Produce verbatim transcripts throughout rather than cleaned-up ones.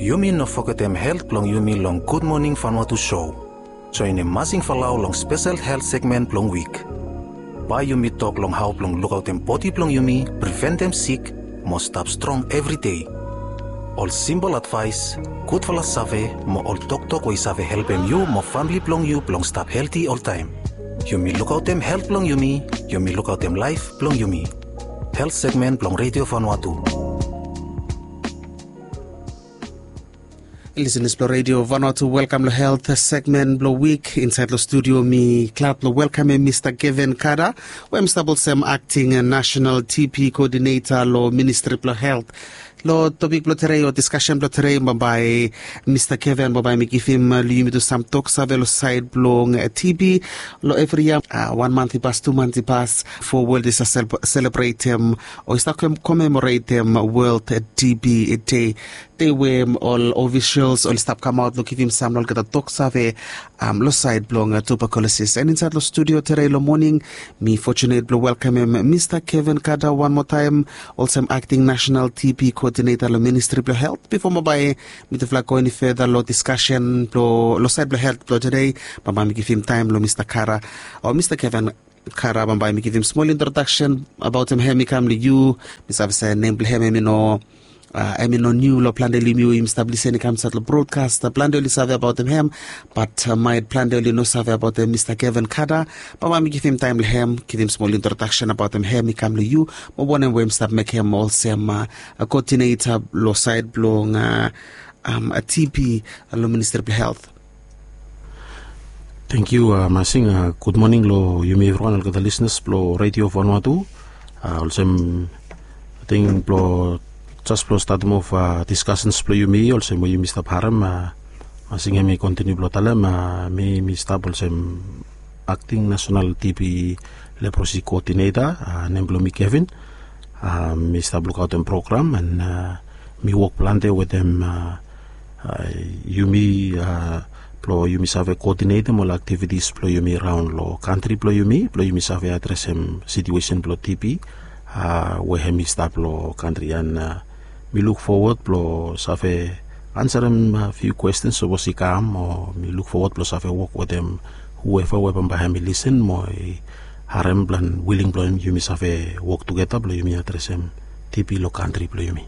Yumi no fogetem helt blong yumi long Gud Moning Vanuatu show. Joenem Masing Falau long spesel helt segmen blong wik. Bae yumi tok long hao blong lukaotem bodi blong yumi, priventem sik, mo stap strong evri dei. Ol simpol advaes, gudfala save, mo ol toktok we i save helpem yu mo famle blong yu blong stap helti oltaem. Yumi lukaotem helt blong yumi, yumi lukaotem laef blong yumi. Helt segmen blong Redio Vanuatu. Lisenas blong Redio Vanuatu, welkam long helt segmen blong wik. Insaed long studio mi glad blong welkamem Mista Kevin Kada, we hem stap olsem akting nasenal T B koodineta long Ministri blong Helt. Long topik blong tedei o diskasen blong tedei, bambae Mista Kevin bambae mi givim long yumi tu sam toksave long saed blong T B. Long evri yia, wan mant i pas, tu mant i pas, fo wol i stap selebretem o i stap komemoretem World T B Day. Dei we ol ofisels oli stap kamaot long givim sam long olgeta toksave long saed blong tuberkulosis. An insaed long studio tedei long moning, mi fotunet blong welkamem Mista Kevin Kada wan moa taem, olsem akting nasenal T B koodineta long Ministri blong Helt. Bifo bambae mitufala go eni feda long diskasen blong, long saed blong helt blong tedei, bambae mi givim taem long Mista Kada, o Mista Kevin Kada, bambae mi givim smol introdaksen abaotem hem i kam long yu. Mi save se nem blong hem hem i no, hem i no niu long plante long yumi we yumi stap lisin i kam insaed long brodkas. Plante oli save abaotem hem, bat maet plante oli no save abaotem Mista Kevin Kada. Bambae mi givim taem long hem givim smol introdaksen abaotem hem i kam long yu, mo wanem we hem stap mekem olsem koodineta long saed blong T B long Ministri blong Helt. Tangkiu Masing. Gud moning long yumi evriwan, olgeta lisenas blong Redio Vanuatu. Olsem, ating blong jes blong statem of diskasens blong yumi olsem we yumi stap harem, Masing hem i kontiniu blong talem, mi mi stap olsem akting nasenal T B leprosi koodineta. Nem blong mi Kevin. Mi stap lukaotem program an mi wok plante wetem yumi blong yumi save koodinetem ol aktivitis blong yumi raon long kantri blong yumi blong yumi save adresem situesen blong T B we hem i stap long kantri. An mi luk fowod blong save ansarem fiu kwestens sapos i kam, o mi luk fowod blong save wok wetem hueva we bambae hem i lisin mo i harem plan wiling blong hem yumi save wok tugeta blong yumi adresem T B long kantri blong yumi.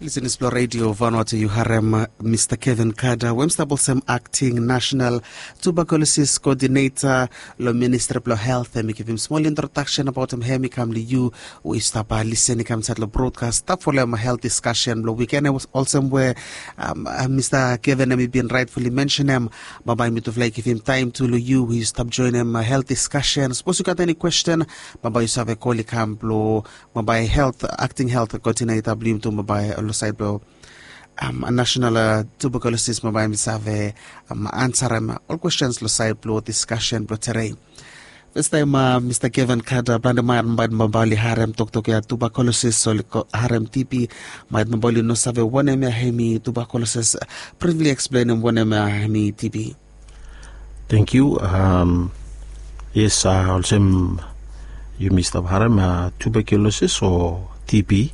Lisenas blong Redio Vanuatu, yu harem Mista Kevin Kada we hem stap olsem akting nasenal tuberkulosis koodineta long Ministri blong Helt. Hem i givim smol introdaksen abaotem hem i kam long yu we yu stap lisin i kam insaed long brodkas, stap folem helt diskasen blong wiken. Olsem we Mista Kevin hem i bin raetfuli mensenem, bambae mitufala i givim taem tu long yu we yu stap joenem helt diskasen. Sapos yu gat eni kwesten, bambae yu save kol i kam blong bambae helt, akting helt koodineta blong yumi tu bambae long saed blong nasenal tuberkulosis bambae hem i save ansarem ol kwestens long saed blong diskasen blong tedei. Fastaem, Mista Kevin Kada, plante man maet bambae oli harem toktok ya tuberkulosis, oli harem T B, maet bambae oli no save wanem ya hem i tuberkulosis. Brifli eksplenem wanem ya hem i T B. Tangkiu. Yes, olsem yumi stap harem tuberkulosis o T B.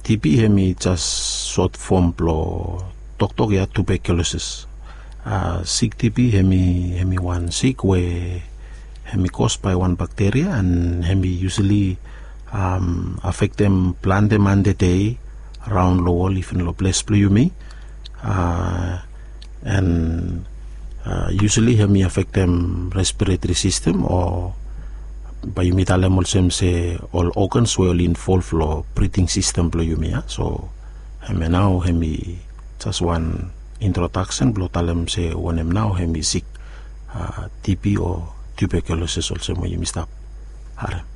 T B hem i jes sot fom blong toktok ya tuberkulosis. Sik T B hem i, hem i wan sik we hem i kos bae wan bakteria an hem i yusali afektem plante man tede raon long wol, iven long ples blong yumi. An yusali hem i afektem respiretri sistem o bae yumi talem olsem se ol ogans we oli involv long briding sistem blong yumi ya. So hemia nao hem i jes wan introdaksen blong talem se wanem nao hem i sik T B o tuberkulosis olsem we yumi stap harem.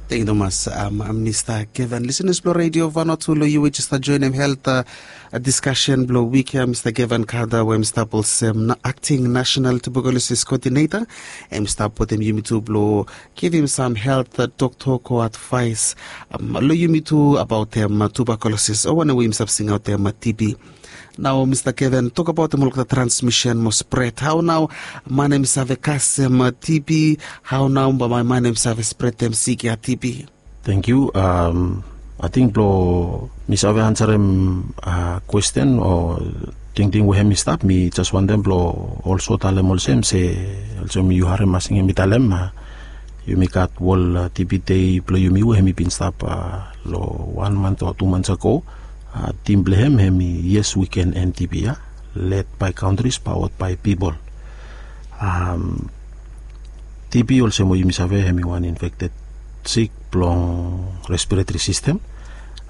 Tangkiu tumas Mista Kevin. Lisenas blong Redio Vanuatu, long yu we jes stap joenem helt diskasen blong wik ya, Mista Kevin Kada we hem stap olsem akting nasenal tuberkulosis koodineta, hem stap wetem yumi tu blong givim sam helt toktok o advaes long yumi tu abaotem tuberkulosis o wanem we yumi stap singaotem T B. Nao Mista Kevin, tokbaotem olgeta transmisen mo spred. Hao nao man hem i save kasem T B? Hao nao bambae man hem i save spredem sik ya T B? Tangkiu. Ating blong mi save ansarem kwesten o tingting we hem i stap, mi jes wantem blong olso talem olsem se, olsem yu harem masing hem i talem, yumi gat wol tibi dei blong yumi we hem i bin stap long wan mant o tu mants ago. Tim blong hem hem i yes wi ken en tibi ya, led bai kantris pawad bai pipol. Tibi olsem we yumi save hem i wan infekted sik blong respiretri sistem.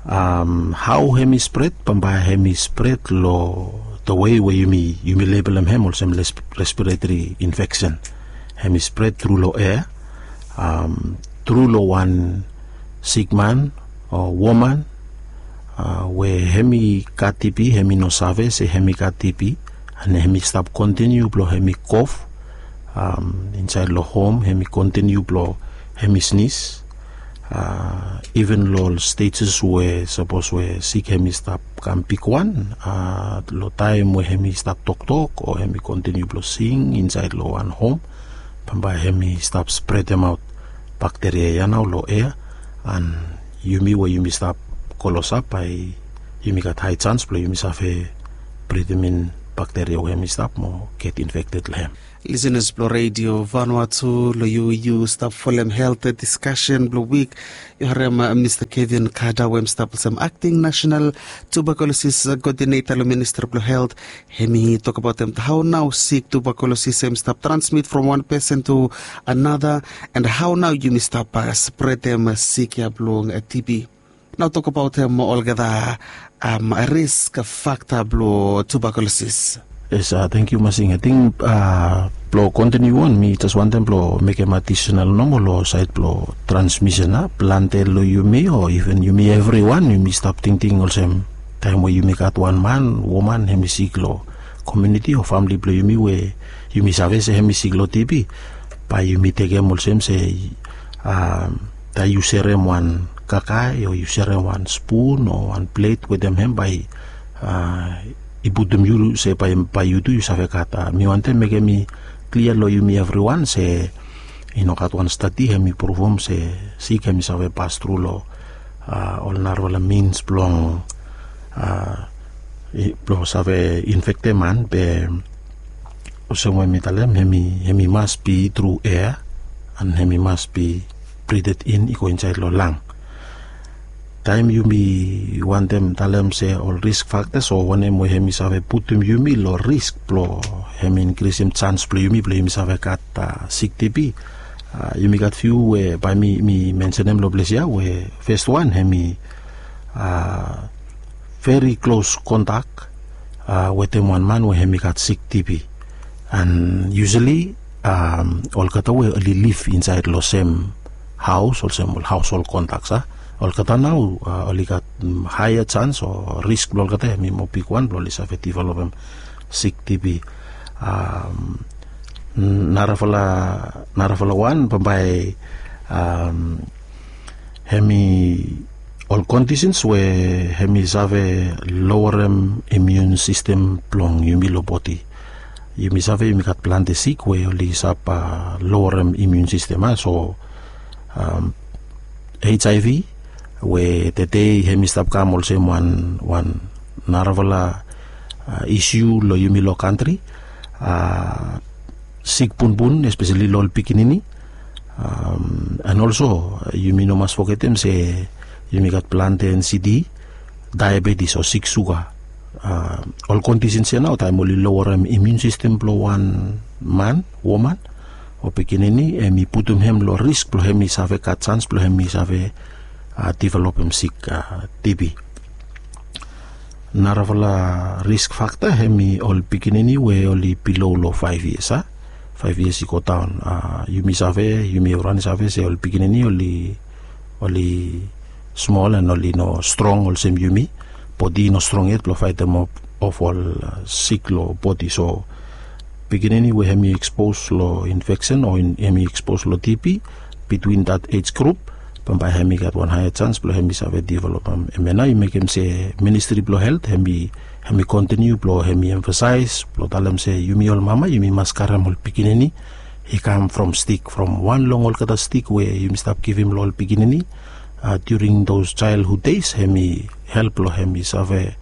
Hao hem i spret? Bambae hem i spret long the way we yumi yumi lebelem hem olsem respiretri infeksen. Hem i spret tru long ea, tru long wan sikman o woman we hem i gat tibi, hem i no save se hem i gat tibi, an hem i stap kontiniu blong hem i kof insaed long hom, hem i kontiniu blong hem i snis. Iven long ol stejes we sapos we sik hem i stap kam bigwan, long taem we hem i stap toktok o hem i kontiniu blong sing insaed long wan hom, bambae hem i stap spredemaot bakteria ya nao long ea, an yumi we yumi stap klosap bae yumi gat hae jans blong yumi save bridim in bakteria we hem i stap mo get infekted long hem. Lisenas blong redio Vanua tu, long yu yu stap folem helt diskasen blong wik, yu harem Mista Kevin Kada we hem stap olsem akting nasenal tubakulosis koodineta long ministri blong helt. Hem i tokbaotem hao nao sik tubakulosis hem i stap transmit from wan pesen tu anata, an hao nao yumi stap spredem sik ya blong tibi. Nao tokbaotem olgeta risk fakta blong tubakulosis. Yes, tangkiu Masing. Ating blong kontiniu on, mi jes wantem blong mekem adisenal nomo long saed blong transmisen ya, plante long yumi o iven yumi evriwan yumi stap tingting olsem, taem we yumi gat wan man, woman hem i sik long komuniti o famle blong yumi we yumi save se hem i sik long tibi, bae yumi tekem olsem se taem yu serem wan kakae o yu serem wan spun o wan plet wetem hem, bae i putum yu se bae yu tu yu save gat. Mi wantem mekem i klia long yumi evriwan se i no gat wan stadi hem i pruvum se sik hem i save pas tru long ol narafala mins blong blong save infektem man, be olsem we mi talem, hem i mas bi tru ea, an hem i mas bi bridet in i go insaed long lang. Taem yumi wantem talem se ol risk faktas o wanem we hem i save putum yumi long risk blong hem i inkrisim jans blong yumi blong yumi save gat sik tibi, yumi gat fiu we bae mi mensenem long ples ya. We fes wan hem i veri klos kontak wetem wan man we hem i gat sik tibi. An yusali olgeta we oli liv insaed long sem haos olsem ol haoshol kontaks, olgeta nao oli gat haea jans o risk blong olgeta hem i moa bigwan blong oli save developem sik tibi. Narafala, narafala wan bambae hem i ol kondisens we hem i save lowerem imiun sistem blong yumi long bodi. Yumi save yumi gat plante sik we oli save lowerem imiun sistem, a so hiv we tede hem i stap kam olsem wan wan narafala isiu long yumi long kantri, sik bunbun espeseli long ol pikinini. An olso yumi no mas fogetem se yumi gat plante ensidi, daebetis o sik suga. Ol kondisens ya nao taem oli lowerem imiun sistem blong wan man, woman o pikinini, hem i putum hem long risk blong hem i save gat jans blong hem i save developem sik tibi. Narafala risk fakta hem i ol pikinini we oli bilo long faef yias, a faef yias i godaon. Yumi save, yumi evriwan i save se ol pikinini oli oli smol an oli no strong olsem yumi. Bodi i no strong yet blong faetem of ol sik long bodi. So pikinini we hem i ekspos long infeksen o hem i ekspos long tibi, bitwin dat ej grup, bambae hem i gat wan haea jans blong hem i save developem. Hemia nao i mekem se ministri blong helt hem i hem i kontiniu blong hem i emfasaes blong talem se yumi ol mama yumi mas karem ol pikinini i kam from stik, from wan long olgeta stik we yumi stap givim long ol pikinini. During those childhood days hemi help long hemi save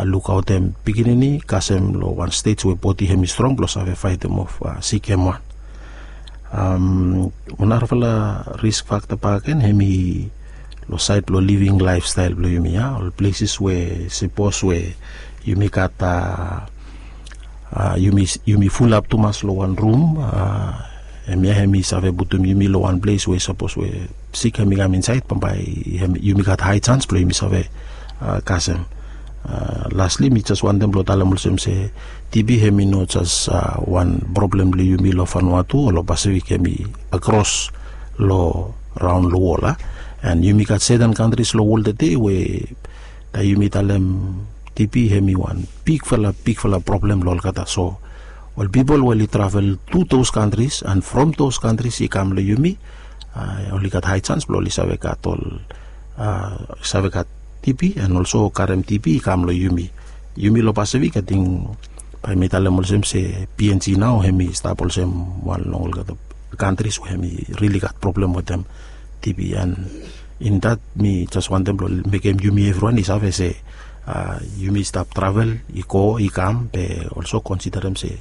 lukaotem pikinini kasem long wan stej we bodi hemi strong blong save faetem of sik hem wan. Wan narafala risk fakta bakegen hemi long saed blong living laefstael blong yumi ya, ol pleses we sapos we yumi gat a yumi fulap tumas long wan rum, hemia hemi save putum yumi long wan ples we sapos we sik hemi kam insaed bambae yumi gat hae jans blong yumi save kasem. Lasli mi jes wantem blong talem olsem se tibi hemi no jes wan problem blong yumi long fanua tu o long pasifik, hemi akros long raon long wol a. An yumi gat seten kantris long wol tede we taem yumi talem tibi hemi wan bigfala bigfala problem long olgeta. So ol pipol we oli travel tu those kantris an from those kantris i kam long yumi, oli gat hae jans blong oli save gat ol save gat tibi an olso karem tibi i kam long yumi. Yumi long pasifik ating bae mi talem olsem se png nao hemi stap olsem wan long olgeta kantris we hemi rili gat problem wetem tibi. An in dat mi jes wantem blong mekem yumi evriwan i save se yumi stap travel i go i kam be olso konsiderem se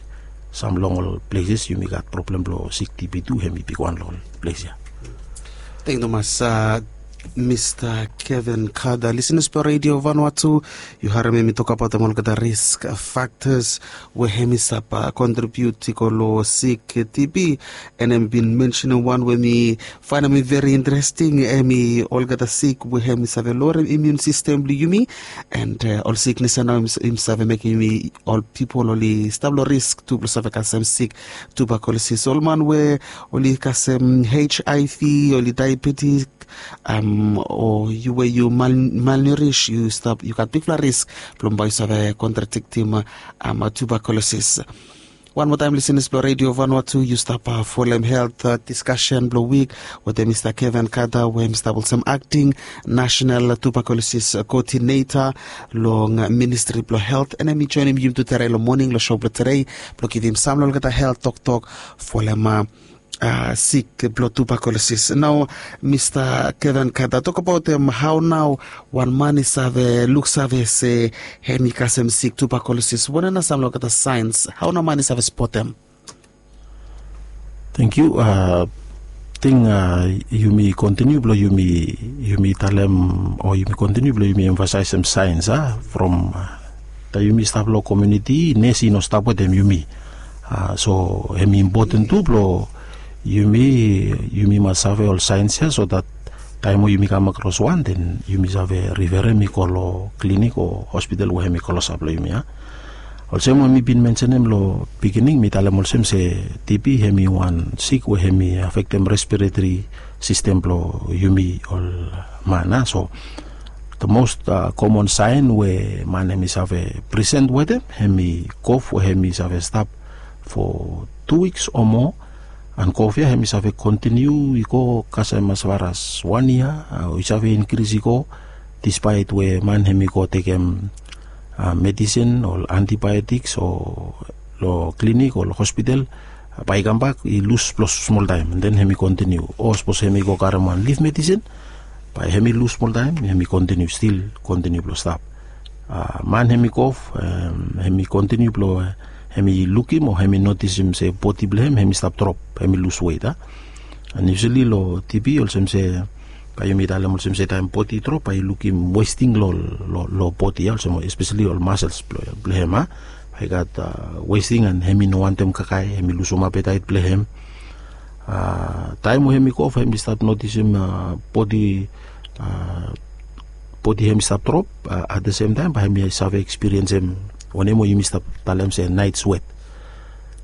sam long ol pleses yumi gat problem blong sik tibi tu hemi bigwan long ol ples ya. Teng tumas mista kevin kada lisenas blong redio vanua tu, yu harem em i tokabaotem olgeta risk faktas we hem i save kontribiut i go long sik tibi. An hem i bin mensenem wan we mi faenem i veri interesting, hem i olgeta sik we hem i save lorem imiun sistem blong yumi. An ol siknes ya nao hem i save mekem yumi ol pipol oli stap long risk tu blong save kasem sik tubakulosis, ol man we oli kasem hiv, oli daebetik, o yu we yu malnurish yu gat bigfala risk blong bae yu save kontradiktim tubakulosis. Wan moa taem lisenas blong redio vanua tu yu stap folem helt diskasen blong wik wetem mista kevin kada we hem i stap olsem akting nasenal tubakulosis koodineta long ministri blong helt, an hem i joenem yumi tu tede long moning long so blong tede blong givim sam long olgeta helt toktok folem sik blong tubakulosis. Nao mista kevin kada tokabaotem hao nao wan man i save luksave se hem i kasem sik tubakulosis, wanem nao sam long olgeta saens hao nao man i save spotem? Teng yu. Ting yumi kontiniu blong yumi talem o yumi kontiniu blong yumi emfasaesem saens a from taem yumi stap long komiuniti nes i no stap wetem yumi. So hem i impoten tu blong yumi yumi mas save ol saens ya so dat taem we yumi kam akros wan den yumi save riferem i go long klinik o hospital we hem i klosap long yumi ya. Olsem we mi bin mensenem long pikinini mi talem olsem se tibi hem i wan sik we hem i afektem respiretori sistem blong yumi ol man a. So the most komon saen we man hem i save prisen wetem hem i kof we hem i save stap fo tu wiks o moa. An kof ya hem i save kontiniu i go kasem asfaras wan yia o i save inkris i go dispaet we man hem i go tekem medisin o antibiotiks o long klinik o long hospital, bae i kambak i lus blong smoltaem an den hem i kontiniu o sapos hem i go karem wan lif medisin bae hem i lus smoltaem hem i kontiniu stil kontiniu blong stap. Man hem i kof hem i kontiniu blong hem i lukim o hem i notisim se bodi blong hem hem i stap drop hem i lus wet a. An yusali long tibi olsem se bae yumi talem olsem se taem bodi i drop bae i lukim westing long bodi ya olsem espesali ol masels blong hem a. Bae i gat westing an hem i no wantem kakae hem i lusum apetaet blong hem. Taem we hem i kof hem i stap notisim bodi bodi hem i stap drop. At the sem taem bae hem i save ekspiriensem wanem we yumi stap talem se naet swet.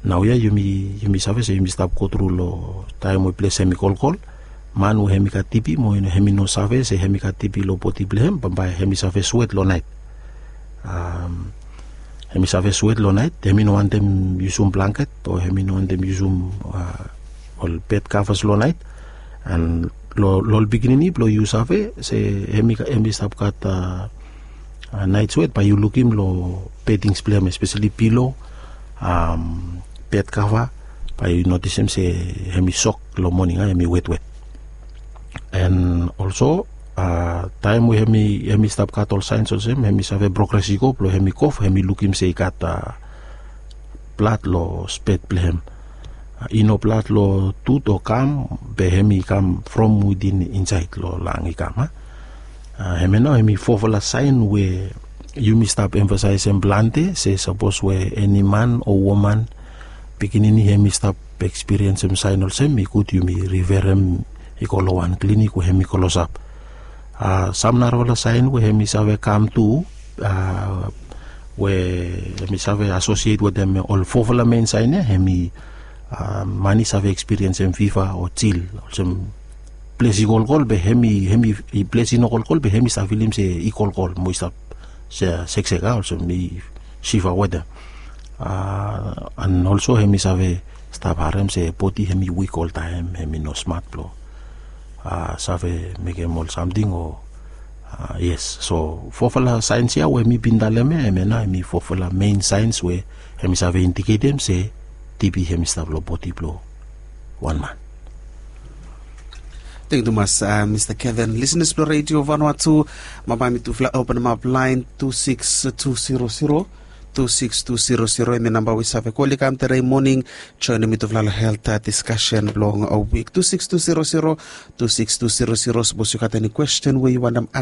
Naoia yumi save se yumi stap gotru long taem we ples hem i kolkol. Man we hem i gat tibi mo hem i no save se hem i gat tibi long bodi blong hem bambae hem i save swet long naet. Hem i save swet long naet hem i no wantem yusum blangket o hem i no wantem yusum ol bed kavas long naet. An long ol pikinini blong yu save se hem i stap gat naet swet bae yu lukim long bedings blong hem espesali pilo, bed kava, bae yu notisim se hem i sok long moning a hem i wetwet. And also, taem we hem i stap gat ol saens olsem, hem i save progres i go blong hem i kof, hem i lukim se i gat blad long spet blong hem. I no blad long tut o kam, be hem i kam from widin insaed long lang i kam a. Hemia nao hem i fofala saen we yumi stap emfasaesem plante se sapos we eni man o woman, pikinini hem i stap ekspiriensem saen olsem, i gud yumi riferem i go long wan klinik we hem i klosap. Sam narafala saen we hem i save kam tu, we hem i save asosiet wetem ol fofala mein saen ya, hem i man i save ekspiriensem fiva o jil, olsem ples i kolkol be hem i ples i no kolkol be hem i stap filim se i kolkol mo i stap seksek a, olsem i siva wetem. And also hem i save stap harem se bodi hem i wik oltaem, hem i no smat blong save mekem ol samting o. Yes, so fofala saens ya we mi bin talem ya, hemia nao hem i fofala mein saens we hem i save indiketem se tibi hem i stap long bodi blong wan man. Teng tumas, mista Kevin. Lisenas blong redio vanua tu, mabae mitufala openemap laen tu siks tu siro siro, tu siks tu siro siro, hemi namba we i save kol i kam tedei moning, joenem mitufala long helt diskasen blong wik. Tu siks tu siro siro, tu siks tu siro siro. Sapos yu gat eni kwesten we yu wantem